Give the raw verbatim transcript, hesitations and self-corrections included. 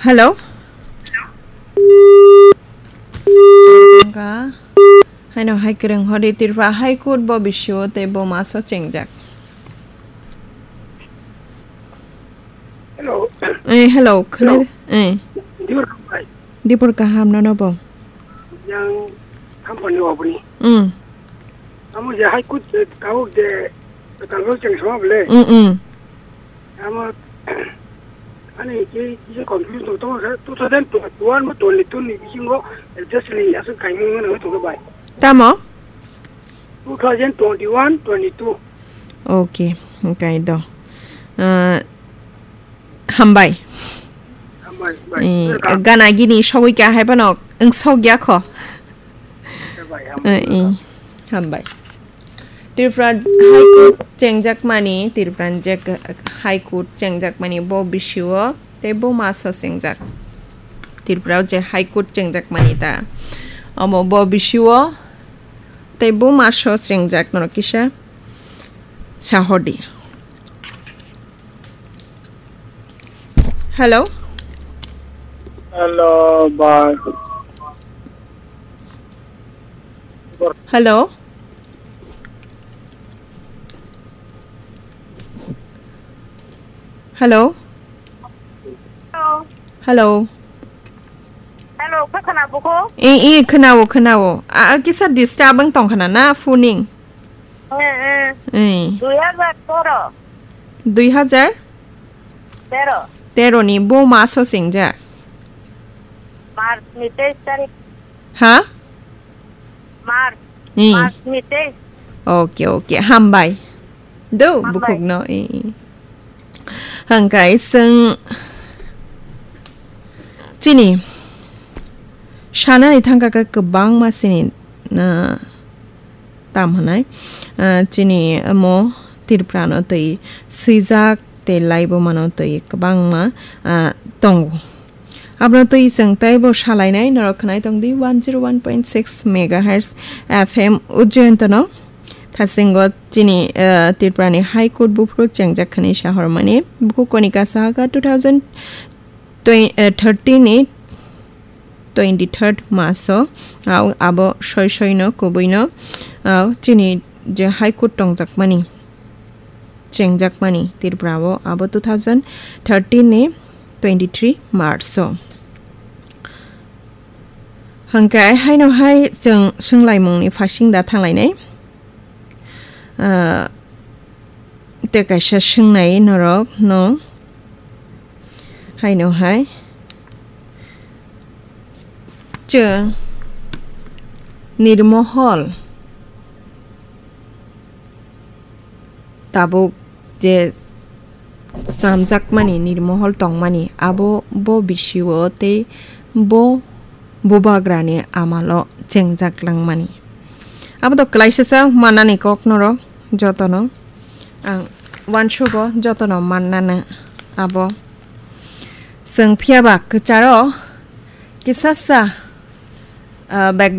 Hello? Wngkha. Haino hai kwrwng hodi Tripura High Court bo bisio tei bo maso chengjak. Hello. Eh, hello, khwnai. Hello. Eh. Dipor kaham bai. Dipor kaham nono bo. Yang company oboni. Mm. Amo je High Court je tabuk je talbo cheng sama bole. Mm, mm. Amo ani ke kisa confuse tong tong sa two thousand twenty-one mo twenty-two ni bisingo adjust ni asuk kaimung no tong bai. Tamo? Two thousand twenty-one, twenty-two. Okay, okay do. Ah, hambai. Hambai, bai. Eh, welcome. Gana gini sogwi kha hai phano wng sok ya kho. Hambai, hambai, eh, eh, welcome. Hambai. Tripura High Court chengjak mani, Tripura je High Court chengjak mani bo bisio tei bo maso chengjak. Tripura je High Court chengjak mani ta. Omo bo bisio tei bo maso chengjak no kisa sahodi. Hello? Hello, bye. Hello? Hello? Hello. Hello. Hello, kha khwna bukho? Eh, eh, khwnao, khwnao. A, a, kisa disturb wng tong khna na phoning? Eh, eh. Eh. Dui hajar tero. Dui hajar? Tero. Tero ni bo maso chengjak? March ni teis tarik. Ha? March. Eh. March ni teis. Okay, okay. Hambai. Do, hambai. Bukhuk no. Eh, eh. Hangkai seng chini sana ni thangka ka kwbangma sini na tam hwnai, ah, chini omo Tripura no twi swijak tei laibuma no twi kwbangma, ah, tongo. Abono twi chwng teibo salainai norok khwnai tongdi one zero one point six megahertz F M Ujjayanto no. Thasingo chini, ah, Tripura ni High Court buphuru chengjak khani sahormani buku Konika Sahaka two thousand thirteen ni twenty third maso, ah, abo soi soi no kubui no, ah, chini je High Court tongjakmani, chengjakmani Tripura o abo two thousand thirteen ni twenty three March o. Hwnkhe haino hai chwng swnglaimung ni phasing da thanglainai. Ah, tei kaisa swngnai norok no haino hai chwng nirmohol tabuk je snamjakmani nirmohol tongmani abo bo bisio tei bo bubagrani amalo chengjak langmani. Abo to klaisasa manani kok norok jotono ang uansugo jotono mannano abo. Chwng phiyaba kwcharo kisasa, ah, bag